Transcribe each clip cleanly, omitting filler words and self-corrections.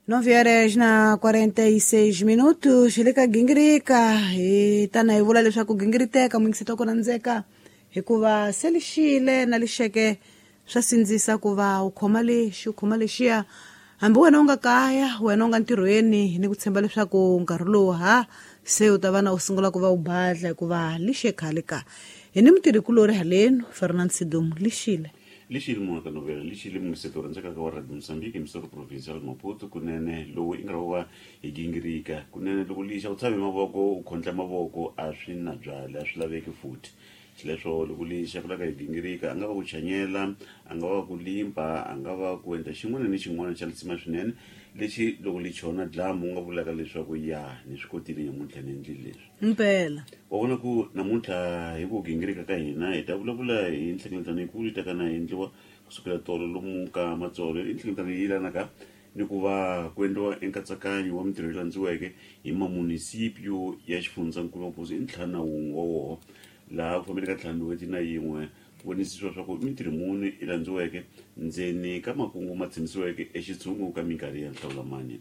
9 horas na 46 minutos. Hi le ka Gingirika, hi tana hi vula leswaku gingiriteka muyingiseti ku rhandzeka, hikuva se lixile na lixeke swa sindzisa ku va u khoma lexi, u khoma lexiya, hambi wena u nga kaya, wena u nga ntirhweni, ni ku tshemba leswaku nkarhi lowu ha se u ta va na u sungula ku va u badla, hikuva lixe khale ka hi ni mutirhikulori halenu Fernand Sidum. Lixile. Lixile munhu ka novela, lixile mungiseto rhandzekaka wa Radio Mozambique, emisoro provincial Maputo. Kunene lowu i nkarhi wo va hi gingirika. Kunene loko lixa u tshame mavoko, u khondla mavoko, a swi na byali, a swi laveki futhi. Xileswo loko lixa ku laka hi gingirika, a nga va ku chanyela, a nga va ku limpa, a nga va ku endla xin'wana ni xin'wana xa lisima swinene lexi loko li chona dlamu u nga vulaka leswaku ya ni swi kotile nyamuntlha, ni endlile leswi. Mpela. Wa vona ku namuntlha hi ku gingirika ka hina hi ta vulavula hi nhlengeletano yikulu yi taka na endliwa kusukela tolo lomu ka Matsolo. I nhlengeletano yi yelanaka ni ku va ku endliwa enkatsakanyo wa mintirho yi landziweke hi mamunisipio ya xifundzankulu Maputo, i 51 wa woho, laha ku fambeni ka 51 ku vonisisiwa swa ku mintirho muni yi landziweke ndzeni ka makungu ma tshembisiweke exitshungu ka minkarhi ya nhlawulamani.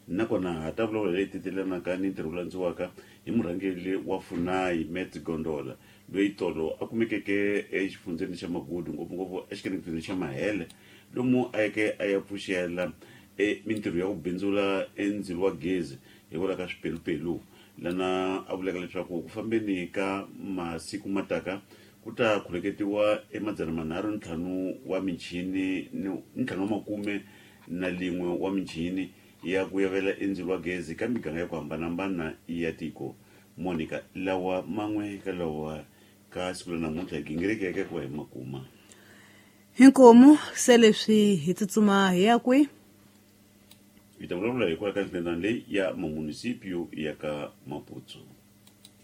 Nakona ha ta vulavula leyi tetelanaka ni ntirho wu landziwaka hi murhangeri wa Funai, Matt Gondola, loyi tolo a kumekeke exifundzeni xa Magudu, ngopfungopfu exikeneketweni xa Mahele, lomu a yeke a ya pfuxela e mintirho ya ku bindzula endzilo wa gezi hikwalaho ka swipelupelu, lana a vulaka leswaku ku fambeni ka masiku mataka ku ta khuleketiwa e 305 wa michini ni 51 wa michini ya ku yavela endzilo wa gezi ka miganga ya ku hambanahambana ya tiko. Monica, lawa man'we ka lawa ka siku la namuntlha hi gingirikeke ku va hi makuma. Inkomu. Se leswi hi tsutsuma hi ya kwi? Hi ta vulavula hikwalaho ka nhlengeletano leyi ya mamunisipio ya ka Maputo.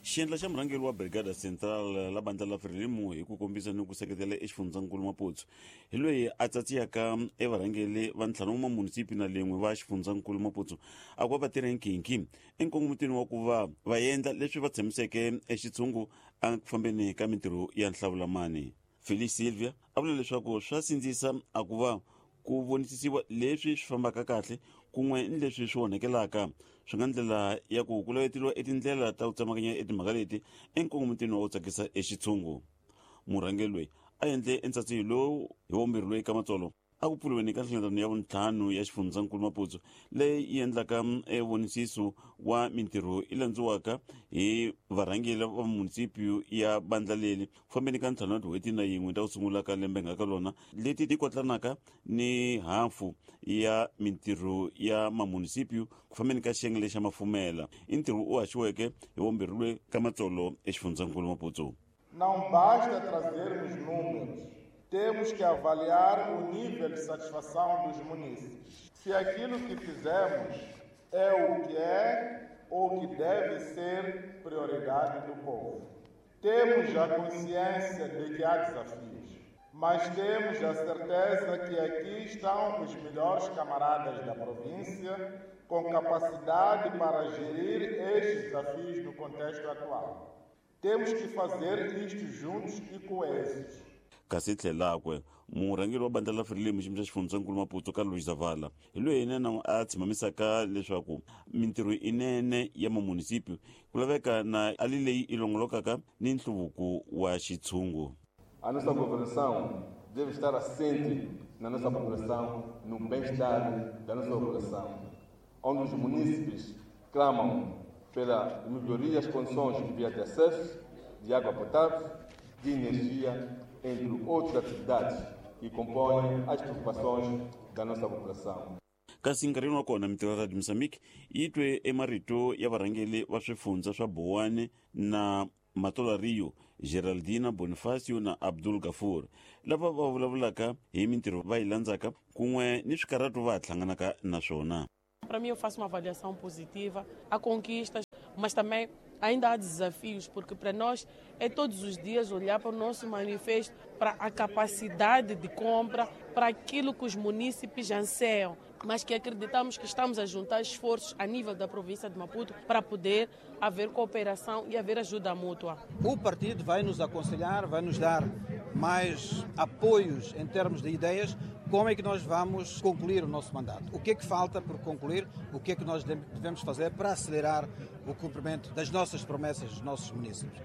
Xiendla xa murhangeri wa Brigada Central la bandla la Frelimo hi ku kombisa ni ku seketela exifundzankulu Maputo hi loyi a tsatsiyaka evarhangeri va 5 wa mamunisipi na lin'we va xifundzankulu Maputo, a ku va va tirha nkhinkhi enkongomitweni wa ku va va endla leswi va tshembiseke exitshungu a ku fambeni ka mintirho ya nhlawulamani. Felix Silvia a vula leswaku swa sindzisa a ku va ku vonisisiwa leswi swi fambaka kahle kun'we ni leswi swi onhekelaka, swi nga ndlela ya ku ku laveteliwa etindlela ta ku tsemakanya etimhaka leti enkongomitweni wa ku tsakisa exitshungu. Murhangeri loyi a endle entsatsiyo lowu hi wombirhi loyi ka Matsolo a ku pfuriweni ka nhlengeletano ya vuntlhanu ya xifundzankulu Maputo, leyi yi endlaka evonisiso wa mintirho yi landziwaka hi varhangeri va munisipio ya bandla leri ku fambeni ka 51 ta ku sungula ka lembe nga ka lona, leti ti kotlanaka ni hafu ya mintirho ya mamunisipio ku fambeni ka xiyenge lexa mafumela. I ntirho u haxiweke hi wombirhi loyi ka Matsolo exifundzankulu Maputo. Não basta trazermos números, temos que avaliar o nível de satisfação dos munícipes. Se aquilo que fizemos é o que é ou que deve ser prioridade do povo. Temos a consciência de que há desafios, mas temos a certeza que aqui estão os melhores camaradas da província com capacidade para gerir estes desafios no contexto atual. Temos que fazer isto juntos e coesos. Kasi tlhelakwe murhangeri wa bandla la Frelimo xiyimo xa xifundzankulu Maputo, Carlos Zavala, hi loyi yena a tshimamisaka leswaku mintirho inene ya mamunisipio ku laveka na ali leyi i longolokaka ni nhluvuko wa xitshungu. A nossa governação deve estar assente na nossa população, no bem-estar da nossa população, onde os munícipes clamam pela melhoria das condições de via de acesso, de água potável, de energia, entre outras atividades que compõem as preocupações da nossa população. Kasi nkarhini wa kona mintirho ya Radio Mozambique yi twe emarito ya varhangeri va swifundza swa Bowane na Matola Rio, Geraldina Bonifacio na Abdul Gafur, lava va vulavulaka hi mintirho va yi landzaka kun'we ni swikarhato va ha hlanganaka na swona. Para mim, eu faço uma avaliação positiva. Há conquistas, mas também ainda há desafios, porque para nós é todos os dias olhar para o nosso manifesto, para a capacidade de compra, para aquilo que os munícipes anseiam, mas que acreditamos que estamos a juntar esforços a nível da província de Maputo para poder haver cooperação e haver ajuda mútua. O partido vai nos aconselhar, vai nos dar mais apoios em termos de ideias. Como é que nós vamos concluir o nosso mandato? O que é que falta por concluir? O que é que nós devemos fazer para acelerar o cumprimento das nossas promessas dos nossos munícipes?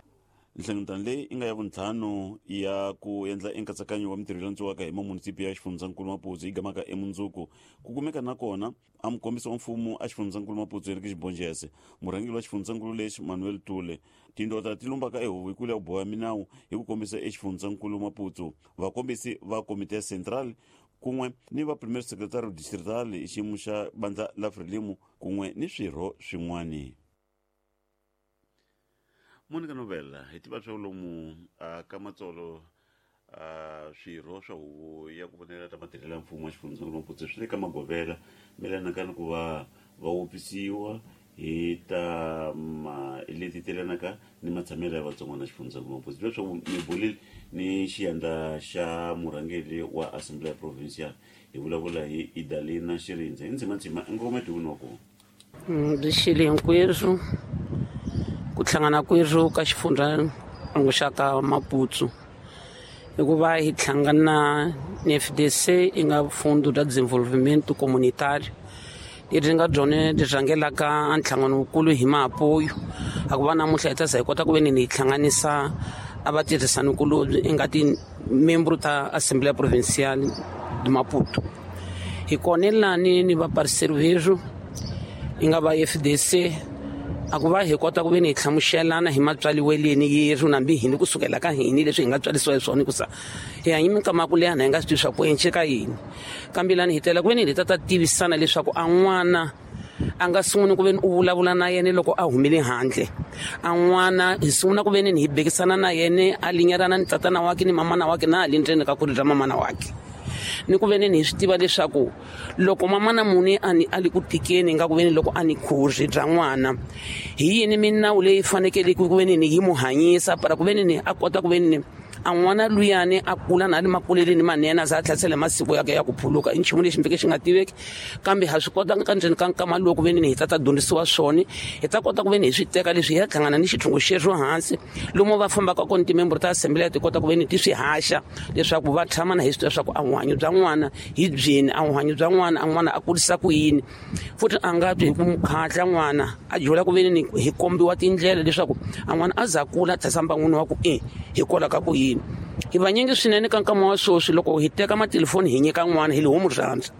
Nhlengeletano leyi i nga ya vuntlhanu ya ku endla enkatsakanyo wa mintirho landziwaka hi mamunisipi ya xifundzankulu Maputo yi gamaka emundzuku ku kumeka na kona a mukombisi wa mfumo a xifundzankulu Maputo Henrique Xibonjese, murhangeri wa xifundzankulu lexi Manuel Tule, tindota ti lumbaka ehuvo ya ku boha minawu hi ku kombisa exifundzankulu Maputo, vakombisi va komite ya central kun'we ni va premier secretary distrital hi xiyimo xa bandla la Frelimo kun'we ni swirho swin'wani. Monica Novella hi tiva swa lomu ka matsolo swirho swa huvo ya ku vonela ta matirhelo ya mfumo wa xifundzankulu Maputo swi le ka magovela melanaka ni ku va va wopisiwa hi ta leti telanaka ni matshamelo ya vatsongwana xifundzankulu Maputo. Leswaku mi bulile ni xiyandla xa murhangeri wa Assembly Provincial hi vulavula hi Idalina Xirindze hi ndzimandzima ngometi wa kona. Byi hinkweswo ku hlangana kwerhu ka xifundza xa ka Maputo hikuva hi hlangana ni FDC i nga Fundo da Desenvolvimento Comunitário leri nga byone byi rhangelaka nhlangano wukulu hi maapoyo a ku va namuntlha hi ta za hi kota ku ve ni hi hlanganisa a va tirhisanikulobye i nga timembro ta Assembleia Provincial de Maputo. Hi kona lani ni va parceiro verhu i nga va FDC a ku va hi kota ku ve ni hi hlamuselana hi matswaliweleni yerhu nambi hini kusukela ka hini leswi hi nga tswarisiwa hi swona hikusa hi hanye minkama ya ku leha na hi nga swi tivi swa ku enceka yini, kambe lani hi tela ku ve ni hi ta ta tivisana leswaku a n'wana a nga sunguni ku ve ni u vulavula na yena loko a humile handle, a n'wana hi sungula ku ve ni hi bekisana na yena a linyerana ni tatana wakhe ni mamana wakhe na hali ndzeni ka khuri ra mamana wakhe, ni ku ve ni hi swi tiva leswaku loko mamana muni a ni a li ku tikeni nga ku ve ni loko a ni khuri bya n'wana hi yini minawu leyi fanekele ku ve ni yi mu hanyisa para ku ve ni a kota ku ve ni a n'wana luyani a kula na le makuleleni manene a za a tlhasela masiku yakhe ya ku phuluka i nchumu lexi mfike xi nga tiveki, kambe ha swi kota ka ndzeni ka nkama lowu ku ve ni hi ta ta dyondzisiwa swona hi ta kota ku ve ni hi swi teka leswi hi ya hlangana ni xithungu xexo hansi lomu va fambaka kona timembro ta assembly ti kota ku ve ni ti swi haxa leswaku va tshama na hi swi tiva leswaku a vuhanyo bya n'wana hi byini, a vuhanyo bya n'wana a n'wana a kurisa ku yini, futhi a nga twi hi ku mukhatla n'wana a dyula ku ve ni hi kombiwa tindlela leswaku a n'wana a za kula a tlhasa mbangwini wa ku i hi kola ka ku yini. Hi vanyingi swinene ka nkama wa sweswi loko hi teka matelefoni hi nyika n'wana hi li homu rhandza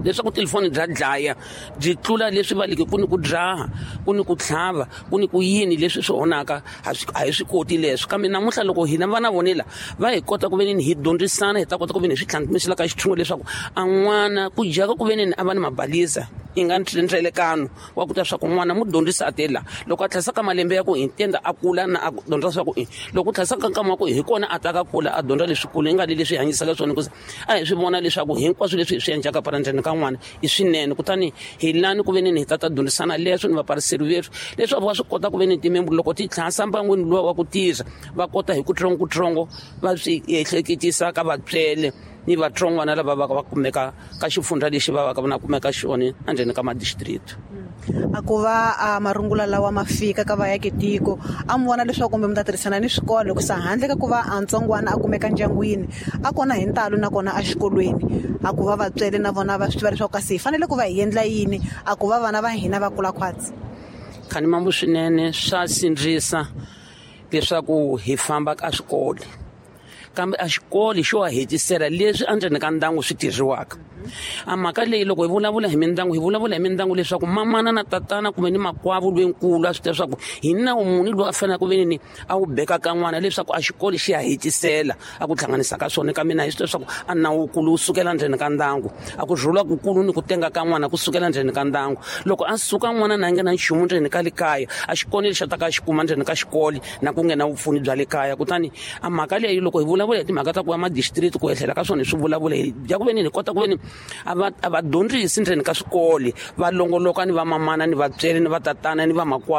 leswaku telefoni bya dlaya byi tlula leswi va leke ku ni ku dzaha ku ni ku tlhava ku ni ku yini leswi swi onhaka a hi swi koti leswi, kambe namuntlha loko hina vana vonela va hi kota ku ve ni hi dyondzisana hi ta kota ku ve ni hi swi tlhantlhisela ka xithungo leswaku a n'wana ku dyaka ku ve ni a va ni mabalisa i nga ndlelekano wa ku ta swa ku n'wana mu dyondzisa a tela loko a tlhasa ka malembe ya ku hi tenda a kula na a dyondza swa ku i loko tlhasa ka nkama wa ku hi kona a ta ka kula a dyondza leswikulu i nga le leswi hanyisaka swona hikuva a hi swi vona leswaku hinkwaswo leswi hi swi endlaka para ndzeni ka n'wana i swinene, kutani hi lani ku ve ni hi ta ta dyondzisana leswo ni vapariseri vethu leswaku va swi kota ku ve ni timembro loko ti tlhasa mbangwini luwa wa ku tirha va kota hi kutsongokutsongo va swi ehleketisa ka vatswele ni vatsongwana lava va kumeka ka xifundza lexi va va na kumeka xona endzeni ka madistrict. A ku va a marungula lawa ma fika ka vaaki tiko a mi vona leswaku kumbe mi ta tirhisana ni swikolo hikusa handle ka ku va a ntsongwana a kumeka ndyangwini a kona hi ntalo nakona exikolweni a ku va vatswele na vona va swi tiva leswaku kasi hi fanele ku va hi endla yini a ku va vana va hina va kula khwatsi. Khani mambo swinene swa sindzisa leswaku hi famba ka swikolo, kambe a xikolo xo hetisela leswi endzeni ka ndyangu swi tirhiwaka. A mhaka leyi loko hi vulavula hi mindyangu hi vulavula hi mindyangu leswaku mamana na tatana kumbe ni makwavo loyinkulu a swi tiva leswaku hi nawu muni lowu a faneleke ku ve ni a wu beka ka n'wana leswaku a xikolo xi ya hetisela a ku hlanganisa ka swona, kambe na hi swi tiva leswaku a nawukulu wu sukela ndzeni ka ndyangu, a ku rhula kukulu ni ku tenga ka n'wana ku sukela ndzeni ka ndyangu. Loko a suka n'wana na nga na nchumu ndzeni ka le kaya a xikolo lexi a ta ka xi kuma ndzeni ka xikolo na ku nghena vupfuni bya le kaya. Kutani a mhaka leyi loko hi vulavula hi timhaka ta ku ya madistrict ku ehlela ka swona hi swi vulavula hi bya ku ve ni hi kota ku ve ni a va dyondzisi ndzeni ka swikolo va longoloka ni va mamana ni vatsweri ni va tatana ni va makwavo.